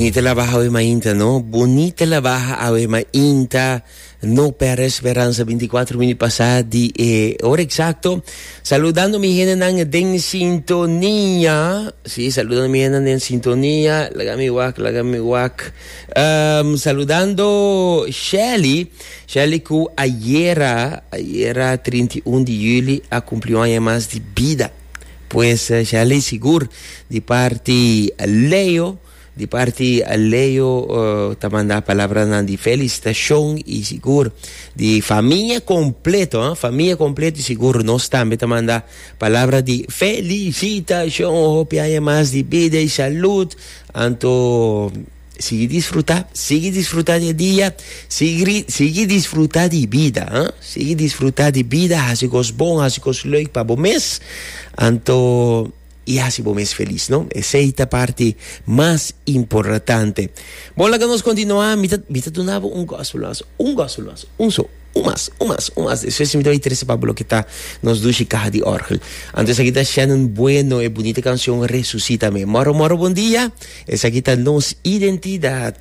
Bunita la baha awe mainta, no? Bunita la baha awe mainta. No perde esperanza, 24 minuut pasa di e hora exacto. Saludando mi hendenan den sintonia. Sí, saludando mi hendenan den sintonia. Laga mi wak, laga mi wak. Um, saludando Shelly. Shelly ku ayera, ayera 31 di juli a cumpli un aña mas di bida. Pues eh, Shelly sigur di parti Leo, di parti Leo uh, ta manda palabranan di felicitacion y sigur di familia completo, eh? Familia completo y sigur nos tambe ta manda palabra di felicitacion, hopi aña mas di bida y salud. Anto sigui disfruta, sigui disfruta di e dia, sigui, sigui disfruta di bida, eh? Sigui disfruta di bida, hasi cos bon, hasi cos leuk pa bo mes. Anto y hasi bo mes feliz, no? Esey ta parti mas importante. Bon, laga nos continua. Mi ta, mi ta duna bo un gospel mas, un gospel mas, un so. Un mas, un mas, un mas. Despues mi ta bay trece pa bo loke ta nos dushi caha di orgel. Anto esaki ta Shannon Bueno, e bunita cancion Resucítame. Moro, moro, bon dia. Esaki ta nos identidad.